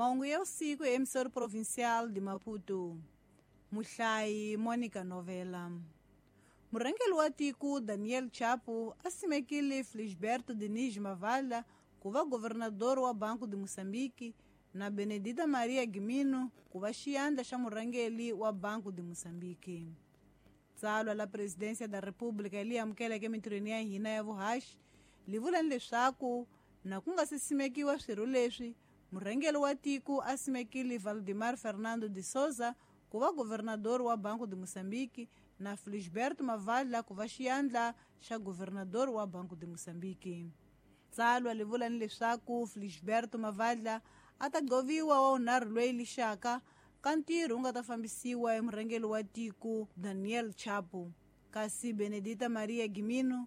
Mahungu ya usiku ya emissora provincial de Maputo. Muhlayi Monica Novela. Murhangeri wa tiko Daniel Chapo a simekile Felisberto Diniz Mavalla ku va governador wa Banco de Moçambique na Benedita Maria Gimino ku va xiyandla xa murhangeri wa Banco de Moçambique. Tsalwa la Presidência da República li amukeleke emitirhweni ya hina ya vuhaxi li vula leswaku na ku nga se simekiwa swirho leswi, murhangeri wa tiko a simekile Valdemar Fernando de Souza ku va governador wa Banco de Moçambique na Felisberto Mavalla ku va xiyandla xa governador wa Banco de Moçambique. Tsalwa li vula ni leswaku Felisberto Mavalla a ta gqoviwa wa vunharhu loyi lixaka ka ntirho wu nga ta fambisiwa hi murhangeri wa tiko Daniel Chapo, kasi Benedita Maria Gimino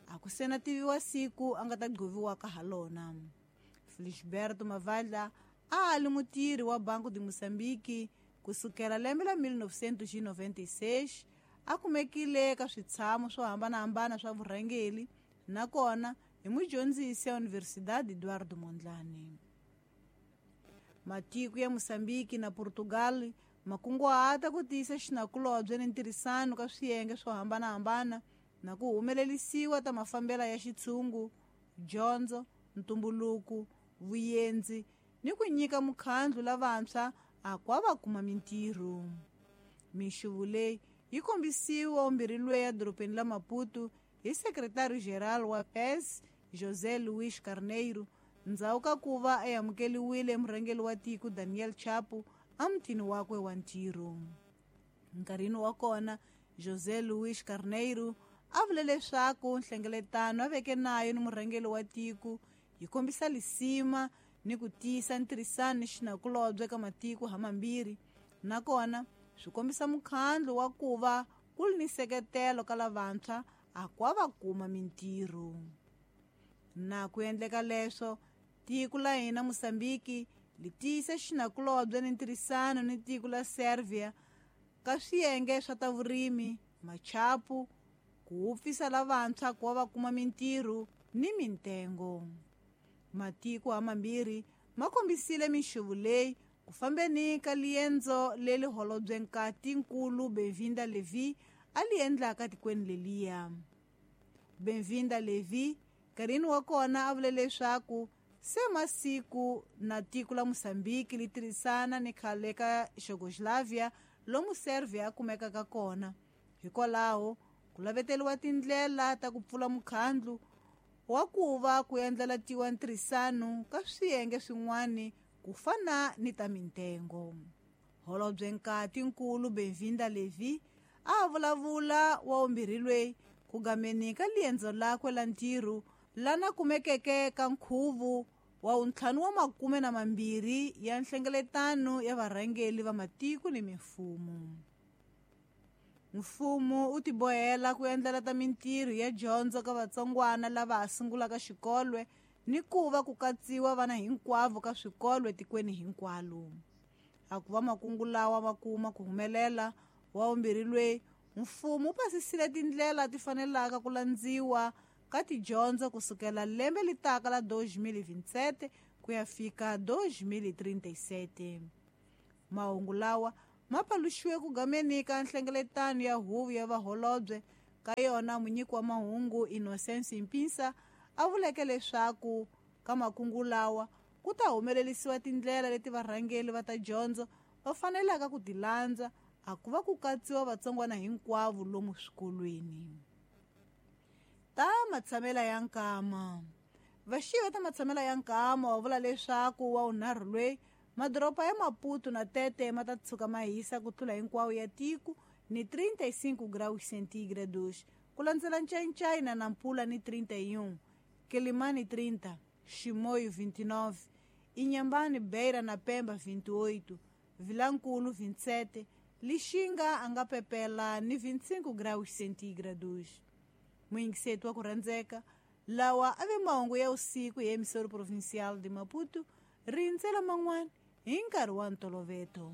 a ku se na tiviwa siku a nga ta gqoviwaka ha lona. Felisberto Mavalla a a li mutirhi wa Banco de Moçambique kusukela lembe la 1996, a kumekile ka switshamo swo hambanahambana swa vurhangeri nakona hi mudyondzisi ya Universidade Eduardo Mondlane. Matiko ya Moçambique na Portugal ma kunguhata ku tiyisa xinakulobye ni ntirhisano ka swiyenge swo hambanahambana na ku humelerisiwa ta mafambelo ya xitshungu, dyondzo, ntumbuluko, vuyenzi ni ku nyika mukhandlu lavantshwa a ku va kuma mintirho. Minxuvu leyi yi kombisiwa vumbirhi lweyi edorobeni la Maputo hi sekretari-geral wa PES José Luís Carneiro ndzhaku ka ku va a amukeriwile murhangeri wa tiko Daniel Chapo emutini wakwe wa ntirho. Nkarhini wa kona José Luís Carneiro a vule leswaku nhlengeletano a veke nayo ni murhangeri wa tiko yi kombisa lisima ni ku tiyisa ntirhisano ni xinakulobye ka matiko hamambirhi, nakona swi kombisa mukhandlu wa ku va ku ri ni nseketelo ka lavantshwa a ku va kuma mintirho. Na ku endleka leswo, tiko la hina Moçambique li tiyisa xinakulobye ni ntirhisano ni tiko la Serbia ka swiyenge swa ta vurimi, machapu, ku wupfisa lavantshwa ku va kuma mintirho ni mintengo. Matiko hamambirhi ma kombisile minxuvu leyi ku fambeni ka liendzo leri holobye nkatinkulu Benvinda Levi a li endlaka tikweni leliya. Benvinda Levi nkarhini wa kona a vule leswaku se masiku na tiko la Moçambique li tirhisana ni khale ka Yugoslavia lomu Serbia a kumekaka kona. Hikwalaho ku laveteriwa tindlela ta ku pfula mukhandlu wa ku va ku endlelatiwa ntirhisano ka swiyenge swin'wana ku fana ni ta mintengo. Holobye nkatinkulu Benvinda Levi a vulavula wa vumbirhi lweyi ku gameni ka liendzo lakwe la ntirho lana kumekeke ka nkhuvo wa 52 ya nhlengeletano ya varhangeri va matiko ni mimfumo. Mfumo wu tibohela ku endlela ta mintirho ya dyondzo ka vatsongwana lava ha sungulaka xikolo ni ku va ku katsiwa vana hinkwavo ka swikolo etikweni hinkwalo. A ku va makungu lawa ma kuma ku humelela wa vumbirhi lweyi, mfumo wu pasisile tindlela ti fanelaka ku landziwa ka tidyondzo kusukela lembe litaka la 2027 ku ya fika 2037. Mahungu lawa ma paluxiwe ku gameni ka nhlengeletano ya huvo ya vaholobye ka yona munyiki wa mahungu Innocence Mpinsa a vuleke leswaku ka makungu lawa ku ta humelerisiwa tindlela leti varhangeri va ta dyondzo va fanelaka ku ti landza a ku va ku katsiwa vatsongwana hinkwavo lomu swikolweni. Ta matshamela ya nkama. Vaxiva ta matshamela ya nkama wa vula leswaku wa vunharhu lweyi madoroba ya Maputo na Tete ma ta tshuka ma hisa ku tlula hinkwawo ya tiko ni 35 graus centígrados, ku landzela Ncayincai na Nampula ni 31, Quelimane 30, Chimoio 29, Inhambane, Beira na Pemba 28, Vilankulu 27, Lixinga a nga pepela ni 25 graus centígrados. Muyingiseti wa ku rhandzeka, lawa a ve mahungu ya usiku hi emissora provincial de Maputo, rindzela man'wana hi nkarhi wa ntoloveto.